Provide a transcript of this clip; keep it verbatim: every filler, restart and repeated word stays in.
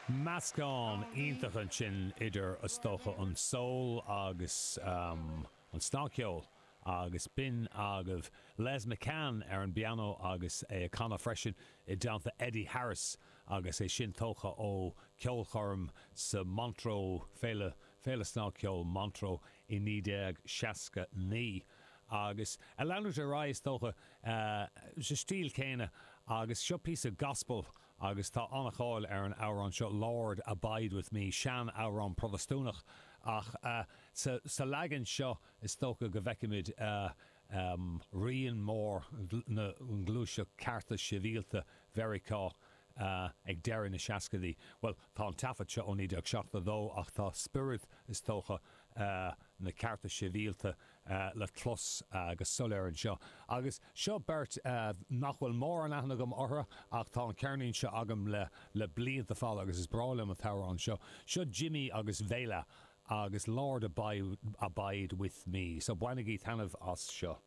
Meascán iontach ansin idir is dócha an soul agus um, an snagcheol agus b'in agaibh Les McCann ar an bpianó agus é ag canadh freisin i dteannta Eddie Harris agus é sin tógtha ó ceolchoirm sa Montreux Féile Féile Snagcheoil Montreux i naoi déag seasca naoi. Agus ag leanúint ar aghaidh is dócha sa stíl céanna agus seo píosa gospel agus tá an-cháil ar an amhrán seo Lord Abide with Me sean-amhrán Protastúnach ach uh, sa, sa leagan seo is dócha go bhfeicimid uh, um, rian mór na ngluaiseacht cearta sibhialta Mheiriceá uh, ag deireadh na seascaidí. Well tá an taifead seo ó naoi déag seachtó dó ach tá spiorad is dócha uh, na cearta sibhialta uh, le clos uh, go soiléir anseo. Agus seo beirt uh, nach bhfuil mórán aithne agam orthu ach tá an ceirnín seo agam le le blianta fada agus is breá liom an t-amhrán seo. Seo Jimmy agus Vela agus Lord Abide, Abide with Me, so bainigí taitneamh as seo.